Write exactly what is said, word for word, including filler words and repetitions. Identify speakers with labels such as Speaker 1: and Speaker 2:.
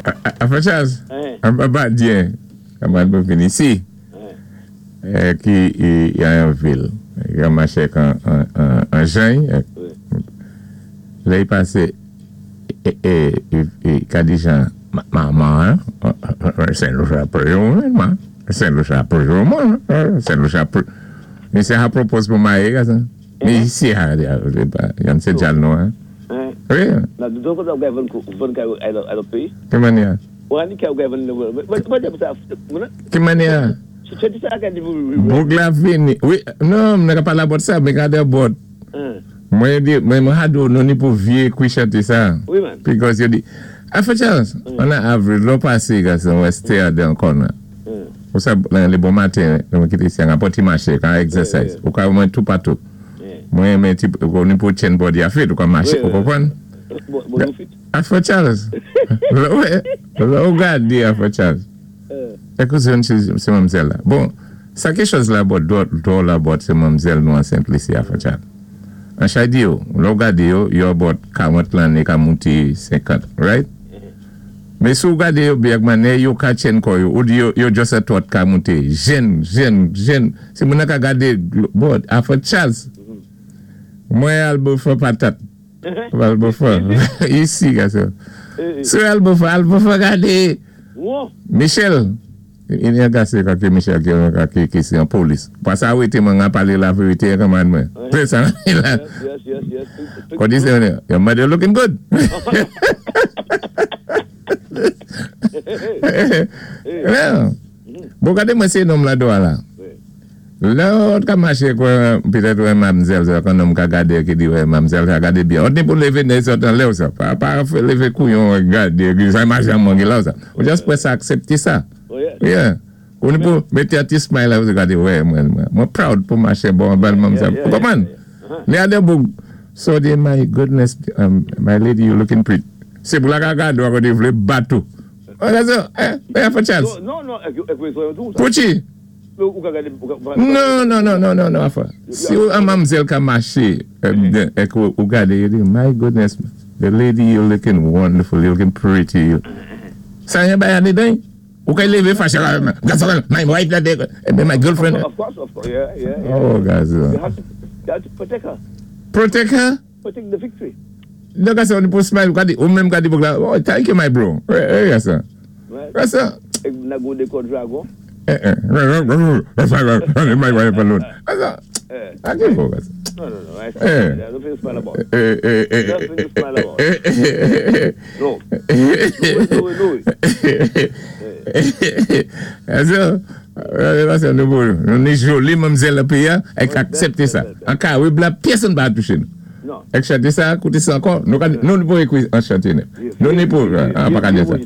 Speaker 1: Afa Charles, an pa diyen, kaman pou fini si, ki yon yon vil, yon mache kan an jen, lè yi pase, e ka di jan, maman, Saint-Lucia pou man, Saint-Lucia pou man, Saint-Lucia pou, mi se ha propose pou maye, ka sa? Mi isi ha, yon se djal nou, an. Oui.
Speaker 2: Na, donk ou gay von kay a lòt peyi?
Speaker 1: Ki manya?
Speaker 2: Ou an di kay ou gay von...
Speaker 1: Ki manya? Boug la vini. Oui, non, mwen ka pala about sa, mwen ka de about. Mwen di, mwen mwen hadou nou ni pou vie kwi chante sa.
Speaker 2: Oui man.
Speaker 1: Because yo di, Afa Charles, an a avril, lò pase gason, wè stay a den corner. Ou sa, lan le bon matin, mwen kite si an apoti mache, kan exercise. Ou ka mwen tout patou. Mwen mwen ti, ou ni pou chen body a fit, ou ka mache, ou kompon?
Speaker 2: Bon fit.
Speaker 1: Afa Charles. Lò ou gade Afa Charles. Ekou se yon se mamzel la. Bon, sa ke chos la bot, do la bot se mamzel nou an Saint-Lucie Afa Charles. An chay di yo, lò gade yo, yo bot karant lan e ka mouti senkant, right? Me sou gade yo biyag mane, yo ka chen ko yo, ou di yo, yo just a tot ka mouti, jen, jen, jen. Se moun ka gade, bot, Afa Charles. Mwen al bo fò patat. Al bo fò. Isi, gaso. Sou al bo fò, al bo fò gade. Michel. Il y a gase kake Michel ki ki se yon polis. Pasa wete mwen a pale la verite kaman mwen. Pe sa.
Speaker 2: Yes, yes, yes.
Speaker 1: Kwa di se yon, your mother looking good. Bon gade mwen se nom la do ala. Lè ou ka mache kwa, pitèt wè mamzel, kon nom ka gade ki di wè mamzel ka gade bien. Ou ni pou leve nè sotan lè ou sa. Pa, pa leve kouyon gade, sa mache an mwen ki la ou sa. Ou just pou sa aksepte sa. Yeah. Ou ni pou mette a ti smile la ou se gade, wè mwen, mwen proud pou mache bon bel mamzel. Ou koman? Lè ade boug, so di, my goodness, um, my lady, you looking pretty. Se pou la ka gade wak ou di vle batou. Ou la so, eh, eh, for chance.
Speaker 2: Non, non, ek wè so yon tou sa.
Speaker 1: Pouchi? Non, non, non, non, non, non, afa. Si ou an mamzel ka mache, ek ou gade, you di, my goodness, the lady, you looking wonderful, you looking pretty. Sa yon bayan de den? Ou kay leve fache la, my wife la de, my girlfriend.
Speaker 2: Of course, of course, yeah, yeah, yeah.
Speaker 1: Oh, guys.
Speaker 2: You have to, you have to protect her.
Speaker 1: Protect her?
Speaker 2: Protect the victory.
Speaker 1: Donk ase, ou pou smile, ou menm gade bouk la, oh, thank you, my bro. Eh, yes, sir. Yes, sir.
Speaker 2: Ek nago de kon dragon.
Speaker 1: Eh, eh. My wife alone. I give up.
Speaker 2: No, no, no. I
Speaker 1: Eh.
Speaker 2: Nothing to smile about.
Speaker 1: Eh, eh, eh,
Speaker 2: Nothing to smile about.
Speaker 1: eh, eh,
Speaker 2: No. No, no, no.
Speaker 1: So, euh, nou pou, nou ni joli mamzel la piya, ek aksepte sa. An ka, wè bla, pyèsonn pa touche nou.
Speaker 2: Non.
Speaker 1: Ek chante sa, koute sa ankò, nou ka, nou nou pou ekwi an chante ne. Nou ni pou, an pa ka di sa.